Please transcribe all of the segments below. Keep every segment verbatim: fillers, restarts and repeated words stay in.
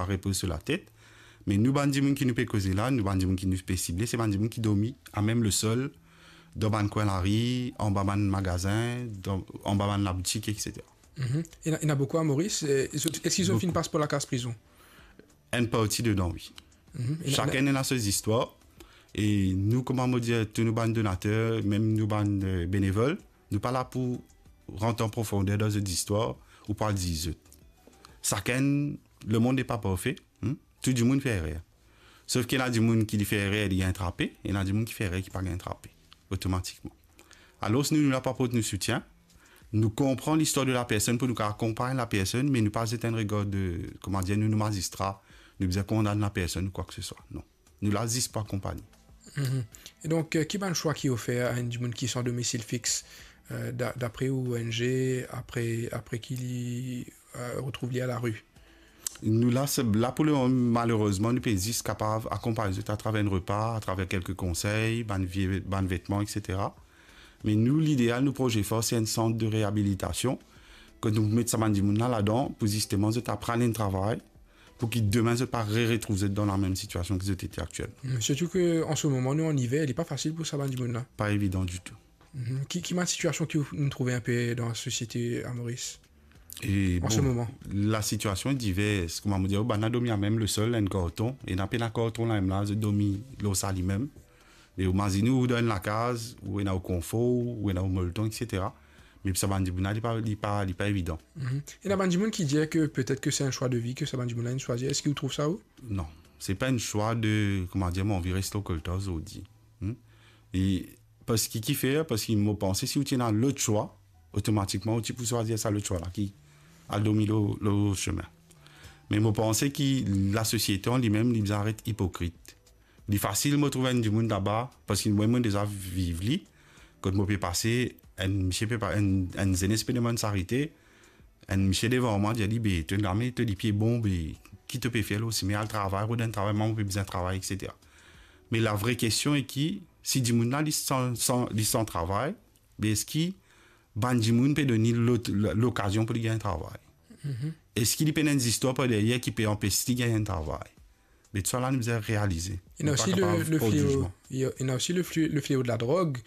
repoz so latet. Me nou bann dimoun ki nou pe koze la, nou bann dimoun ki nou pe sible, se bann dimoun ki dormi amem lesol, dan bann kwin lari, anba bann magazin, dan, anba bann laboutik, et cetera. Mhm. Ena, ena boukou a Moris. Eh, zot, eski zot finn pas par lakaz prizon? Enn parti dedan, wi. Mhm. Ena, sakenn ena so zistwar. E nou, kouma mo dir, tou nou bann donater, mem nou bann, eh, benevol, nou pa la pou rant an profonder dan zot zistwar ou pou al ziz zot. Sakenn, lemonn n'est pas parfait, hmm? Tou dimoun fer erer. Sof ki ena dimoun ki li fer erer, li gagn trape, ena dimoun ki fer erer, ki pa gagn trape, otomatikman. Alor, nou, nou la pou aport nou soutien. Nou konpran listwar de lapersonn pou nou kapav akonpagn lapersonn, me nou pa zet enn regar de, kouma dir, nou, nou mazistra, nou bizin kondann lapersonn ou kwa ke se swa. Non. Nou la zis pou akonpagne. Mhm. E donk, eh, ki bann swa ki ofer a enn dimoun ki san domisil fix, eh, da-, dapre ou, O N G, apre, apre ki li, eh, retrouv li a lari? Nou la, se, la pou le moman, malerezman, nou pe zis kapav akonpagn zot atraver enn repa, atraver kelke konsey, bann vie, bann vetman, et cetera. Me nou, lideal, nou proze for, se enn sant de reabilitasion, kot nou pou met sa bann dimoun la ladan, pou zisteman zot aprann enn travay, pou ki demin zot pa re-retrouv zot dan lamem sitiasion ki zot ete aktielman. Mm, sirtou ke an se moman, nou an iver, li pa fasil pou sa bann dimoun la. Pa evidan ditou. Mhm. Ki, ki bann sitiasion ki nou trouve inpe dan lasosiete a Moris? E an se moman, lasitiasion diver. Kouma mo dir, bann la dormi amem lesol, enn karton, ena pena karton la mem la, zot dormi lor sa limem. E ou mazinn ou dan enn lakaz, ou ena ou konfor, ou ena ou molton, et cetera. Me pou sa bann dimoun la, li pa, li pa, li pa evidan. Mhm. Ena bann dimoun ki dir ke petet ke se enn swa de vi ke sa bann dimoun la inn swazir. Eski ou trouv sa ou? Non, se pa enn swa de, kouma dir, mo anvi res lor koltar zordi. Hmm? E parski kifer? Parski mo panse si ou ti ena lot swa, otomatikman ou ti pou swazir sa lot swa la ki al dormi lor, lor sime. Me mo panse ki lasosiete an limem, li bizin aret ipokrit. Li fasil mo trouv enn dimoun laba, parski mwa, mo deza viv li, kot mo pe pase, enn misie pe pa-, enn, enn zenes pe demann sarite, enn misie devan mwa, dir li, "Be, to lame, to lipie bon, be, ki to pe fer lor sime? Al travay, rod enn travay, mwa mo pe bizin travay, et cetera." Me lavre kestion e ki, si dimoun la, li san, san, li san travay, be eski bann dimoun pe donn li lot-, lokazion pou li gagn travay? Mhm. Eski li pena enn zistwar par deryer ki pe anpes li gagn enn travay? Me tou sa la, nou bizin realize. Ena osi le, le fleo, ena osi le fle-, le fleo de ladrog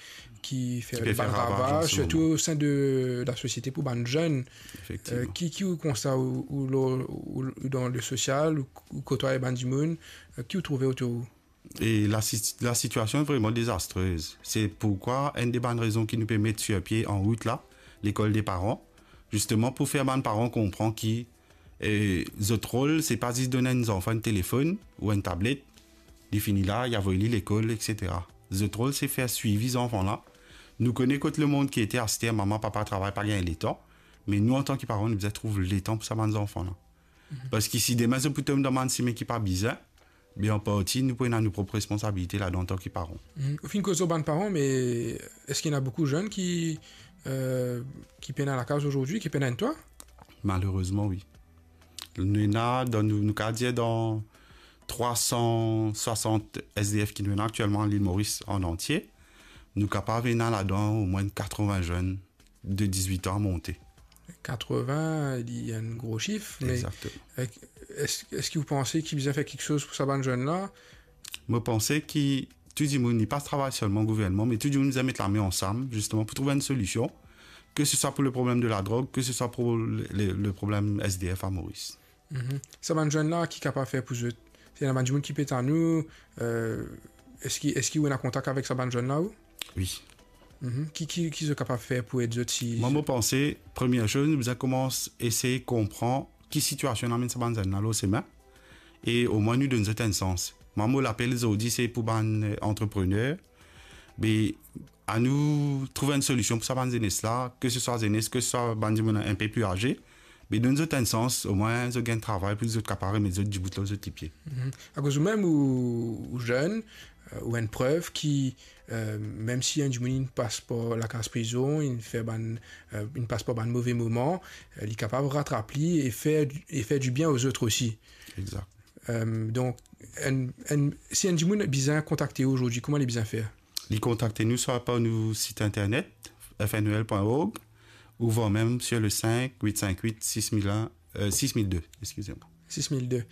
ki fer bann ravaj, sirtou o sein de lasosiete pou bann zenn. Efektivman. Eh, ki, ki ou konsta ou, ou lor, ou, ou dan le sosial, ou, ou kotwaye bann dimoun, eh, ki ou trouve otour ou? E lasi-, lasitiasion vreman dezastrez. Se poukwa enn de bann rezon ki nou pe met sir pie an rout la, lekol de paran, zisteman pou fer bann paran konpran ki, e, zot rol, se pa zis donn enn zanfan enn telefonn ou enn tablet, li fini la, li avoy li lekol, et cetera. Zot rol, se fer swivi zanfan la. Nou kone kot lemond ki ete aster, mama, papa travay, pa gagn letan, me nou, antan ki paran, nou bizin trouv letan pou sa bann zanfan la. Mhm. Parski si demin zot pou tom dan bann sime ki pa bizin, be an parti, nou pou ena nou prop responsabilite ladan antan ki paran. Mhm. Ou finn koz lor bann paran, me eski ena boukou zenn ki, eh, ki pena lakaz azordi, ki pena enn twa? Malerezman, wi. Nou ena, dan nou, nou kapav dir dan trwa san swasant S D F ki nou ena aktielman an Lil Moris an antie, nou kapav ena ladan omwin katrevin zenn de dizwit an a monte. Katrevin, li enn gro sif, me, egzakteman, eh, es-, eski ou panse ki bizin fer kiksoz pou sa bann zenn la? Mo panse ki tou dimoun, li pa travay selman gouvernman, me tou dimoun bizin met lame ansam, zisteman, pou trouv enn solision, ke se swa pou le problem de ladrog, ke se swa pou le, le, le problem S D F a Moris. Mhm. Sa bann zenn la, ki kapav fer pou zot? Ena bann dimoun ki pe tann ou, eh, eski, eski ou ena kontak avek sa bann zenn la, ou? Wi. Mhm. Ki, ki, ki zot kapav fer pou ed zot si... Mwa, mo panse, premie soz, nou bizin koumans esey konpran ki sitiasion amenn sa bann zenn la lor sime, e omwin nou donn zot enn sans. Mwa, mo lapel zordi, se pou bann, eh, antreprener, be, anou trouv enn solision pou sa bann zenes la, ke se swa zenes, ke se swa bann dimoun inpe pli aze, be donn zot enn sans, omwin zot gagn travay pou zot kapav remet zot dibout lor zot lipie. Mhm. Akoz ou mem ou, ou zenn, eh, ou enn prev ki, eh, mem si enn dimoun inn pas par lakaz prizon, inn fer bann, eh, inn pas par bann move moman, eh, li kapav ratrap li e fer, e fer dibien ozot osi. Egzak. Eh, donk, enn, enn, si enn dimoun bizin kontakte ou azordi, kouma li bizin fer? Li kontakte nou swa par nou sit internet, F N E L point org, ou vwar mem sir le cinq huit cinq huit six mille un, eh, six mille deux, excusez-moi. Six mille deux.